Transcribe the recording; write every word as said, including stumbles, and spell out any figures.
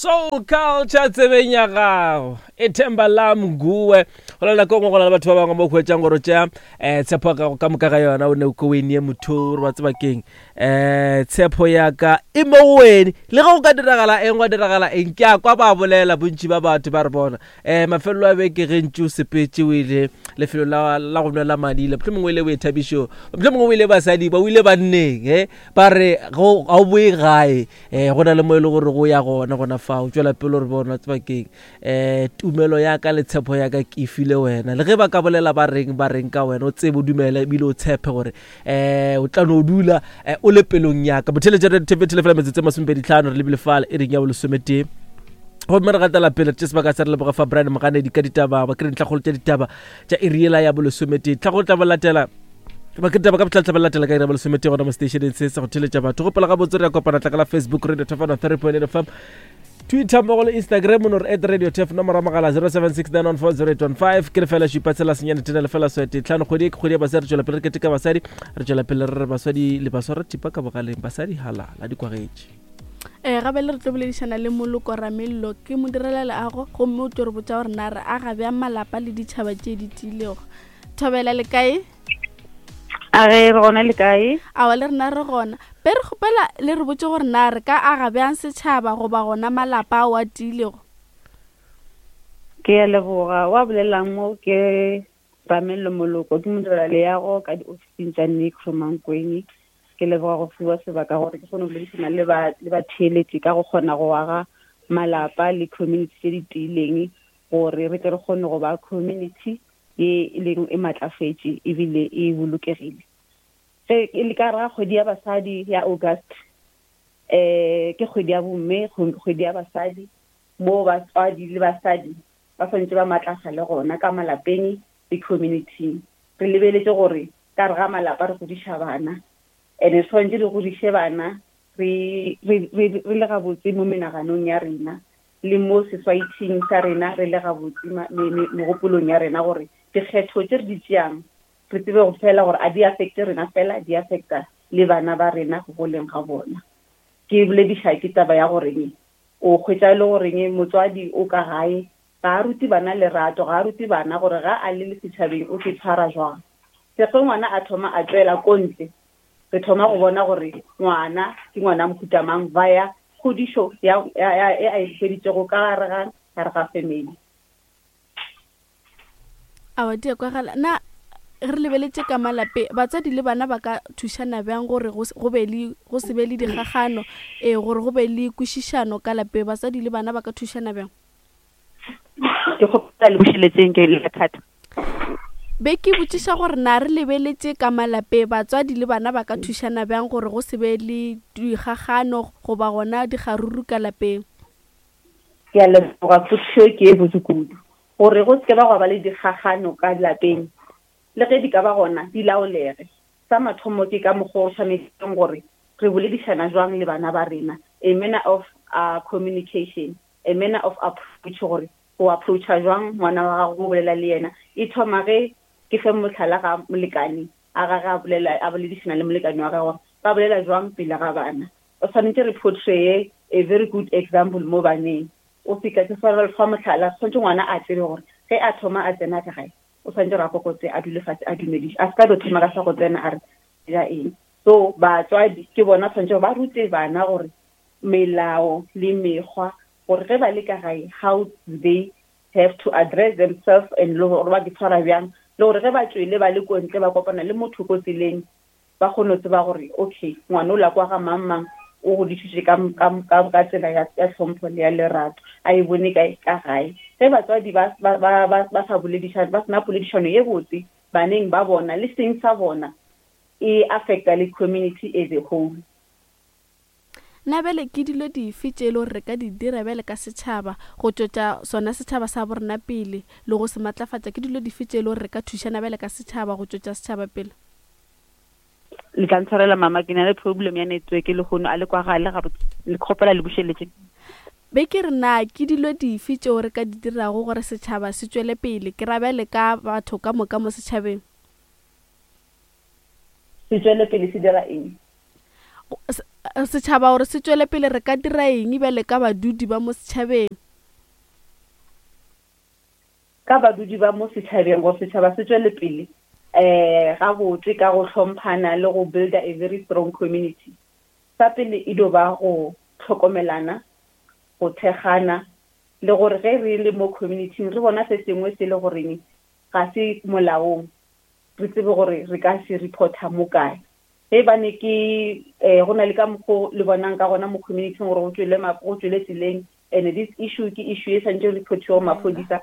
Soul Culture tsebeng ya gago ithemba la mguwe. Go na le nako e nngwe go na le batho ba bangwe mo hwetšang gore o tšea um tshepo ya gago ka moka ga yona o ne o ko o e nee motho gore wa tseba keng um tshepo ya ka e mo go wene. Le ge go ka diragala eng gwa diragala eng, ke a kwa ba bolela bontši ba batho ba re bona um mafelelo a beke ge ntše o sepetse o ile lefelo la la go nwela madila, mohlomongwe o ile boithabišong, mohlomongwe o ile basadi ba o ile banneng, e ba re ga o boe gae, um go na le mo e le gore go ya gona gona fao. Tšwela pele gore bona tseba keng um tumelo ya ka le tshepo ya ka ke e file wena. Le ge ba ka bolela ba reng ba reng ka wena, o tsebe o dumele ebile o tshepe gore um o tla no dula um o le pelong ya ka. Botheletša re fela metsotso e masomepedi tlhano re lebile fale e reng ya bolesometee, gomme re gatela pele re tše sebaka sa re leboga fa Brian Moganedi ka ditaba ba kry ntlhakgolo tša ditaba tša iriela ya bolesometee. Tlhakgolo tla bo latela ba ke ditaba ka botlhatla ba latela ka iri ya bolesometee gona mo stationeng se sa go theletša batho. Gopola gabotse re ya kopana tla ka la Facebook Radio Tefano three point eight F M, Twitter mmogo le Instagram no re at Radio Tef, nomoro ya mogala zero seven six nine one four zero eight one five. Ke lefela šupa tshela senyane tena lefela swete tlhano. Kgwedi e ke kgwedi ya basadi, re tšwela pele re keteka basadi, re tšwela pele re re basadi le baswara thipa ka bogaleng, basadi halala dikwagetše. Eh, gape le re tlo boledišana le Moloko Ramello, ke modirela leago, gomme o tlo re botša gore na re aga bjang malapa le ditšhaba tše di tiilego. Thobela le kae? A re re gona le kae? Aowa, le rena re gona. Be re kgopela le re botše gore na re ka aga bjang setšhaba goba gona malapa ao a tiilego. Ke a leboga. Wa bolelang mo ke Ramello Moloko, ke modirela leago ka diofising tša Nicro Mankweng. Ke leboga go fiwa sebaka gore ke kgone go boledišana le ba, le batheeletši ka go kgona go aga malapa le community tše di tiileng, gore re tle re kgone go ba community ye e leng e matlafetše ebile e bolokegile. Ge e le ka ra kgwedi ya basadi ya August, eh ke kgwedi ya bomme, kgwedi ya basadi, mo batswadi le basadi ba swanetše ba matlafale gona ka malapeng le community. Re lebeletše gore ka re ga malapa re godiša bana, ene re swanetše re godiše bana re, re, re, re le gabotse mo menaganong ya rena le mo society-ing sa rena, re le gabotse ma-, me-, me-, megopolong ya rena, gore dikgetho tše re di tšeang re tsebe go fela gore a di affecte rena fela, di affecta le bana ba rena go goleng ga bona. Ke bolediša ke taba ya goreng o hwetša e le goreng motswadi o ka gae ga a rute bana lerato, ga a rute bana gore ga a le le setšhabeng o ke tshwara jwang. Se ge ngwana a thoma a tšwela ko ntle, re thoma go bona gore ngwana ke ngwana mohuta mang via kgodišo ya, ya, ya, e a e hweditšego ka gare ga, gare ga family. Aowa, di a kwagala. Na re lebeletše ka malape, batswadi le bana ba ka thušana bjang gore go se, go be le, go se be le dikgagano, eh, gore go be le kwešišano ka lapeng? Batswadi le bana ba ka thušana bjang? Ke kgopela le bušeletseng ke le thata. Be ke botšiša gore na re lebeletše ka malape, batswadi le bana ba ka thušana bjang gore go se be le dikgagano goba gona dikgaruru ka lapeng? Ke a leboga, potšišo ke e botse kudu. Gore go se ke ba gwa ba le dikgagano ka lapeng, le ge di ka ba gona di laolege. Sa mathomo ke ka mokgwa o tshwanetseng gore re boledišana jwang le bana ba rena, a manner of, uh, communication, a manner of approach, gore o approacha jwang ngwana wa gago go bolela le yena. E thoma ge ke fe mohlala ga molekane a gage a bolela, a boledišana le molekane wa gagwe gore ba bolela jwang pele ga bana. O tshwanetse re portray a very good example mo baneng. O fihla ke fa fa mohlala, tshwanetse ngwana a tsebe gore ge a thoma a tsena ka gae, o tshwanetse gore a kokotse, a dule fatshe, a dumediše, a se ka dio thoma ka sa go tsena a re ja eng. So batswadi ke bona tshwanetse ba rute bana gore melao le mekgwa, gore ge ba le ka gae, how they have to address themselves and le gore ba di tshwara bjang, le gore ge ba tšwele ba le ko ntle ba kopana le motho ko tseleng, ba kgone go tseba gore okay, ngwana o la kwa ga mang mang o godišitše ka, ka, ka, ka tsela ya, ya tlhompho le ya lerato, a e bone kae ka gae. Ge batswadi ba, ba, ba, ba, ba sa boledišane, ba sena poledišano ye botse baneng ba bona le seng sa bona, e affecta le community as a whole. Na bjale ke dilo dife tše e le gore re ka di dira bjale ka setšhaba go tšwetša sona setšhaba sa borena pele le go se matlafatša? Ke dilo dife tše e le gore re ka thušana bjale ka setšhaba go tšwetša setšhaba pele? Le tla ntshwarela mama, ke na le problem ya network le kgono a le kwagale gabotse. Le kgopela le bušeletše. Be ke re na ke dilo dife tšeo re ka di dirago gore setšhaba se tšwele pele? Ke ra bjale ka batho ka moka mo setšhabeng. Se tšwele pele se dira eng? Setšhaba gore se tšwele pele, re ka dira eng bjale ka badudi ba mo setšhabeng? Ka badudi ba mo setšhabeng, gore setšhaba se tšwele pele um gabotse ka go hlomphana le go builda a very strong community, sa pele e dio ba go hlokomelana, go thekgana, le gore ge re le mo community re bona se sengwe se le goreng ga se molaong, re tsebe gore re ka se reporta mo kae. Ge bane ke um go na le ka mokgo le bonang ka gona mo community gore go tswele go tswele tseleng, and this issue ke issue e santse reportiwa go maphodisa,